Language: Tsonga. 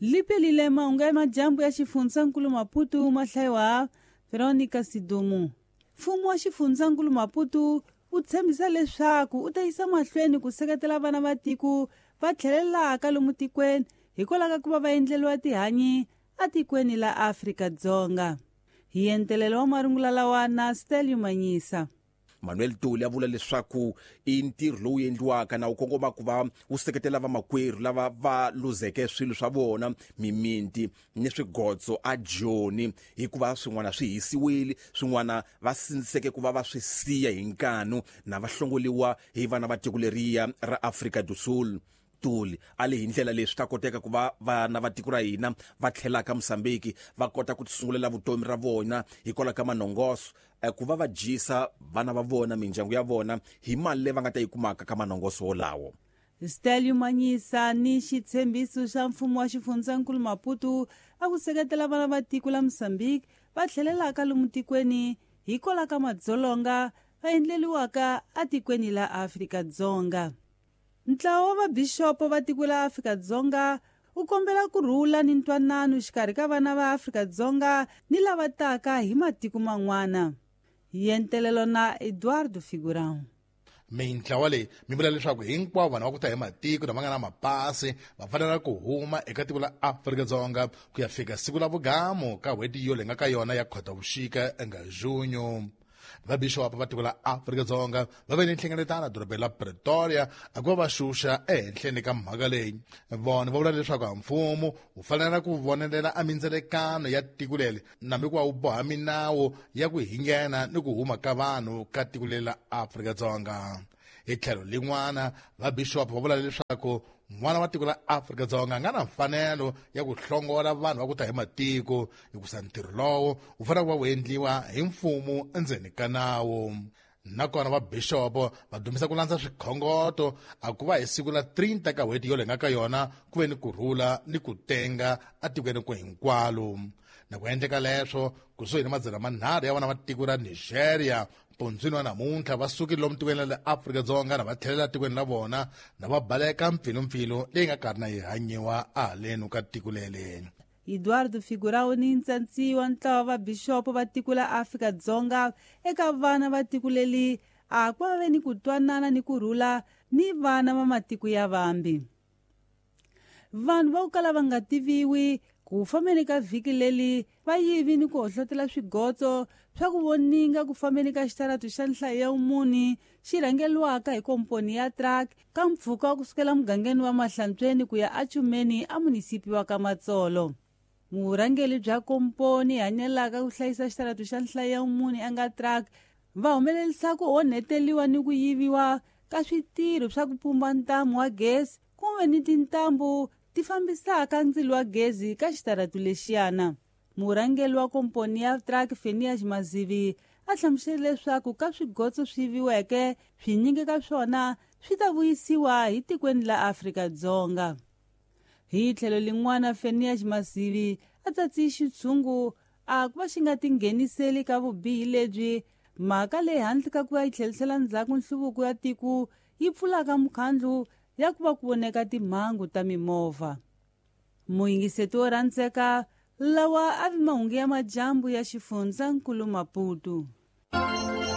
Lipelile mahungu ya majambu ya xifundzankulu Maputo ma hlayiwa Veronica Sidumu. Mfumo wa xifundzankulu Maputo wu tshembisa leswaku u ta yisa mahlweni ku seketela vana va tiko va tlhelelaka lomu tikweni hikwalaho ka ku va va endleriwa tihanyi atikweni la Afrika-Dzonga. Hi entelelo wa marungula lawa na Stelio Manyisa. Manuel Tuli a vula leswaku i ntirho lowu endliwaka na wu kongoma ku va wu seketela vamakwerhu lava va luzeke swilo swa vona, mimiti ni swigotso a Joni, hikuva swin'wana swi hisiwile, swin'wana va sindziseke ku va va swi siya hi nkanu na va hlongoliwa hi vana va tiko leriya ra Afrika do Sul. Tuli a le hi ndlela leswi ta koteka ku va vana va tiko ra hina va tlhelaka Mozambique va kota ku tisungulela vutomi ra vona hikwalaho ka manongoso, ku va va dyisa vana va vona, mindyangu ya vona hi mali leyi va nga ta yi kumaka ka manongoso wolawo. Stelio Manyisa ni xitshembiso xa mfumo wa xifundzankulu Maputo a ku seketela vana va tiko la Mozambique va tlhelelaka lomu tikweni hikwalaho ka madzolonga va endleriwaka atikweni la Afrika-Dzonga. Ntlawa wa vabixopo va tiko la Afrika-Dzonga wu kombela ku rhula ni ntwanano xikarhi ka vana va Afrika-Dzonga ni lava taka hi matiko man'wana. Hi entelelo na Eduardo Figurão. Mintlawa leyi mi vula leswaku hinkwavo vanhu va ku ta hi matiko lama nga na mapasi va fanela ku huma eka tiko la Afrika-Dzonga ku ya fika siku la vugamu ka n'hweti yo leyi nga ka yona ya Khotavuxika nga Junho. Vabixopo va tiko la Afrika-Dzonga va ve ni nhlengeletano dorobeni la Pretoria a ku va va xuxa ehenhleni ka mhaka leyi. Vona va vula leswaku a mfumo wu fanela ku vonelela a mindzelekano ya tiko leri nambi ku va wu boha minawu ya ku hingena ni ku huma ka vanhu ka tiko leri la Afrika-Dzonga. Hi tlhelo lin'wana, vabixopo va vula leswaku n'wana wa tiko la Afrika-Dzonga a nga na mfanelo ya ku hlongola vanhu va ku ta hi matiko, hikusa ntirho lowo wu fanele ku va wu endliwa hi mfumo endzeni ka nawu. Nakona vabixopo va dumisa ku landza swikhongoto a ku va hi siku la 30 ka n'hweti yo leyi nga ka yona ku ve ni ku rhula ni ku tenga atikweni ku hinkwalo. Na ku endleka leswo kusuhi ni 300 ya vana va tiko ra Nigeria pondzwini wa namuntlha va sukile lomu tikweni la le Afrika-Dzonga na va tlhelela tikweni la vona na va baleka mpfilumpfilu leyi nga karhi na yi hanyiwa ahaleni ka tiko leri. Eduardo Figurão ni ntsantsi wa ntlawa wa vabixopo va tiko la Afrika-Dzonga eka vana va tiko leri a ku va ve ni ku twanana ni ku rhula ni vana va matiko ya vambi. Vanhu va ku kala va nga tiviwi ku fambeni ka vhiki leri va yivi ni ku hohlotela swigotso swa ku voninga ku fambeni ka xitaratu xa nhlayo ya vumuni xi rhangeriwaka hi komponi ya truck ka mpfhuka wa kusukela mugangeni wa Mahlantsweni ku ya aChumeni a munisipi wa ka Matsolo. Murhangeri bya komponi hanyelaka ku hlayisa xitaratu xa nhlayo ya vumuni a nga truck va humelerisa ku onheteliwa ni ku yiviwa ka switirho swa ku pumba ntamu wa gezi kumbe ni tintambu ti fambisaka ndzilo wa gezi ka xitaratu lexiyana. Murhangeri wa komponi ya truck Phineas Mazivi a hlamusele leswaku ka swigotso swi yiviweke swinyingi ka swona swi ta vuyisiwa hi tikweni la Afrika-Dzonga. Hi tlhelo lin'wana Phineas Mazivi a tsatsi xitshungu a ku va xi nga tingheniseli ka vubihi lebyi mhaka leyi handle ka ku va yi tlhelisela ndzhaku nhluvuko ya tiko yi pfulaka mukhandlu ya ku va ku voneka timhangu ta mimovha. Muyingiseti wo rhandzeka lawa a vi mahungu ya majambu ya xifundzankulu Maputo.